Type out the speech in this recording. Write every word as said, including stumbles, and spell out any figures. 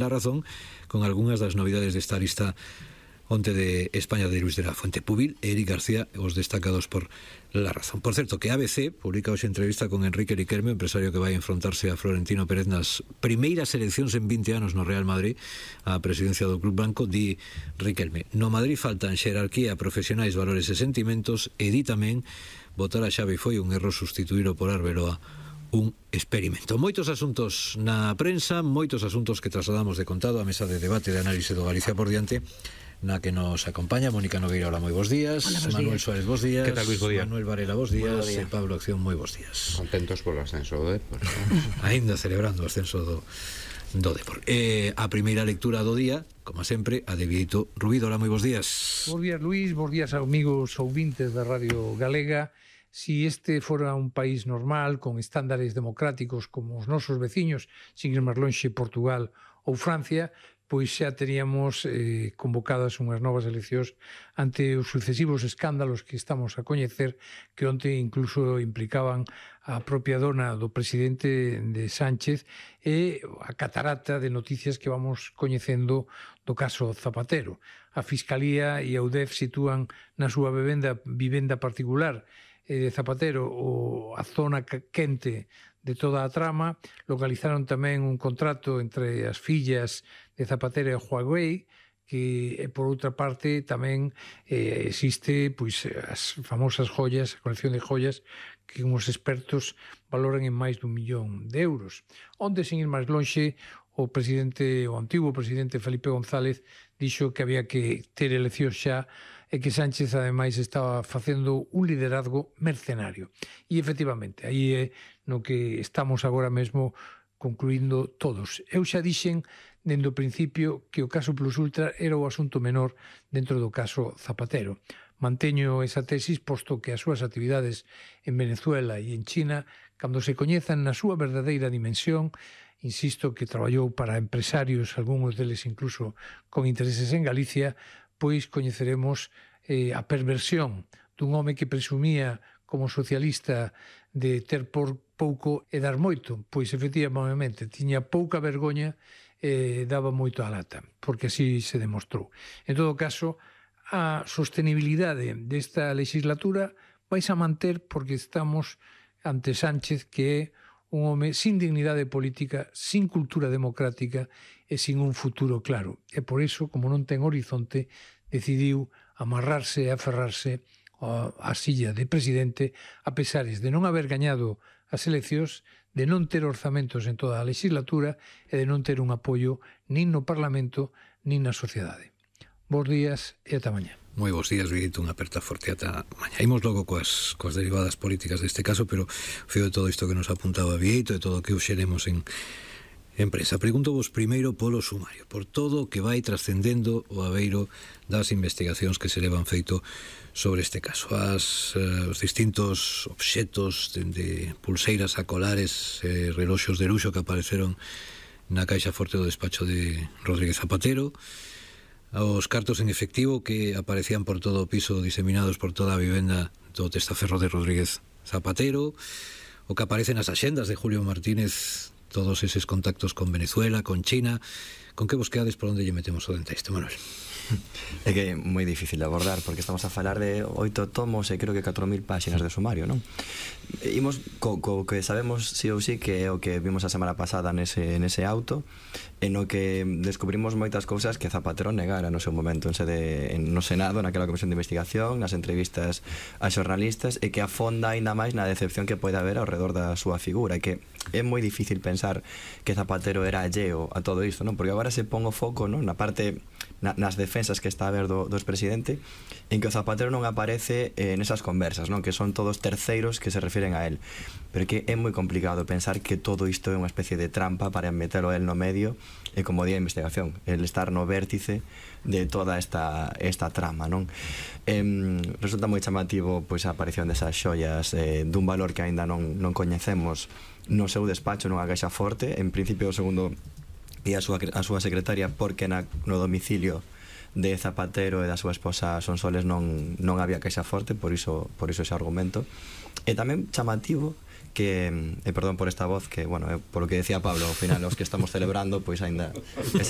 La Razón con algunhas das novidades desta lista onte de España de Luis de la Fuente Pubil e Eric García, os destacados por La Razón. Por certo, que A B C publica hoxe entrevista con Enrique Riquelme, empresario que vai enfrontarse a Florentino Pérez nas primeiras eleccións en vinte anos no Real Madrid á presidencia do Club Blanco. Di Riquelme: no Madrid faltan xerarquía, profesionais, valores e sentimentos, e di tamén botar a Xavi foi un erro, sustituíro por Arbeloa un experimento. Moitos asuntos na prensa, moitos asuntos que trasladamos de contado á mesa de debate de análise do Galicia por diante, na que nos acompaña Mónica Nogueira. Hola, moi bons días. Hola, bos Manuel días. Suárez, bons días. Que tal, Luis? Bo día. Manuel Varela, bos días. E Pablo Acción, moi bos días. Contentos polo ascenso do Depor. Ainda celebrando o ascenso do, do Depor. Eh, a primeira lectura do día, como sempre, a de Vieito Rubido. Hola, moi bos días. Bos días, Luís. Bos días, amigos ouvintes da Radio Galega. Si este fora un país normal, con estándares democráticos como os nosos veciños, sin ir máis lonxe, Portugal ou Francia, pois xa teríamos eh, convocadas unhas novas eleccións ante os sucesivos escándalos que estamos a coñecer, que onte incluso implicaban a propia dona do presidente de Sánchez e a catarata de noticias que vamos coñecendo do caso Zapatero. A Fiscalía e a U D E F sitúan na súa vivenda, vivenda particular de Zapatero o a zona quente de toda a trama. Localizaron tamén un contrato entre as fillas de Zapatero e Huawei, que por outra parte tamén eh, existe pois as famosas joyas, a colección de joyas que uns expertos valoran en máis dun millón de euros. Onde, sin ir máis lonxe, o presidente, o antigo presidente Felipe González dixo que había que ter eleccións xa e que Sánchez ademais estaba facendo un liderazgo mercenario. E efectivamente, aí é no que estamos agora mesmo concluindo todos. Eu xa dixen dende o principio que o caso Plus Ultra era o asunto menor dentro do caso Zapatero. Manteño esa tesis, posto que as súas actividades en Venezuela e en China, cando se coñezan na súa verdadeira dimensión, insisto que traballou para empresarios, algúns deles incluso con intereses en Galicia, pois coñeceremos eh, a perversión dun home que presumía como socialista de ter por pouco e dar moito, pois efectivamente tiña pouca vergoña e daba moito a lata, porque así se demostrou. En todo caso, a sostenibilidade desta legislatura vais a manter porque estamos ante Sánchez, que é un home sin dignidade política, sin cultura democrática e sin un futuro claro. E por iso, como non ten horizonte, decidiu amarrarse e aferrarse á silla de presidente, a pesares de non haber gañado as eleccións, de non ter orzamentos en toda a legislatura e de non ter un apoio nin no Parlamento nin na sociedade. Bos días e ata mañá. Moi bons días, Vieito, unha aperta forte ata mañá. Imos logo coas, coas derivadas políticas deste caso, pero feo de todo isto que nos apuntaba Vieito e todo o que uxeremos en empresa. Pregunto vos primeiro polo sumario, por todo o que vai trascendendo o abeiro das investigacións que se levan feito sobre este caso. As, eh, os distintos obxetos, dende pulseiras a colares, eh, reloxos de luxo que apareceron na caixa forte do despacho de Rodríguez Zapatero, aos cartos en efectivo que aparecían por todo o piso, diseminados por toda a vivenda do testaferro de Rodríguez Zapatero, o que aparece nas axendas de Julio Martínez, todos eses contactos con Venezuela, con China. Con que vos quedades, por onde lle metemos o dente a isto, Manuel? É que é moi difícil de abordar, porque estamos a falar de oito tomos e creo que catro mil páxinas de sumario, non? Imos co, co que sabemos sí ou sí, que é o que vimos a semana pasada nese, nese auto, en o que descubrimos moitas cousas que Zapatero negara no seu momento en sede, en, no Senado, naquela comisión de investigación, nas entrevistas a xornalistas, e que afonda aínda máis na decepción que pode haber ao redor da súa figura, e que é moi difícil pensar que Zapatero era alleo a todo isto, non? Porque agora se pon o foco, non? Na parte, na, nas defensas que está a ver do, do expresidente, en que o Zapatero non aparece eh, nesas conversas, non? Que son todos terceiros que se refiren a él, pero que é moi complicado pensar que todo isto é unha especie de trampa para metelo él no medio, e como día de investigación, el estar no vértice de toda esta, esta trama, non? Eh, resulta moi chamativo pois a aparición desas xoias eh, dun valor que aínda non, non coñecemos no seu despacho, nunha caixa forte, en principio segundo e a súa, a súa secretaria, porque na, no domicilio de Zapatero e da súa esposa Sonsoles non, non había queixa forte, por iso, por iso ese argumento. E tamén chamativo que, e perdón por esta voz, que, bueno, é polo que decía Pablo, ao final os que estamos celebrando, pois ainda ese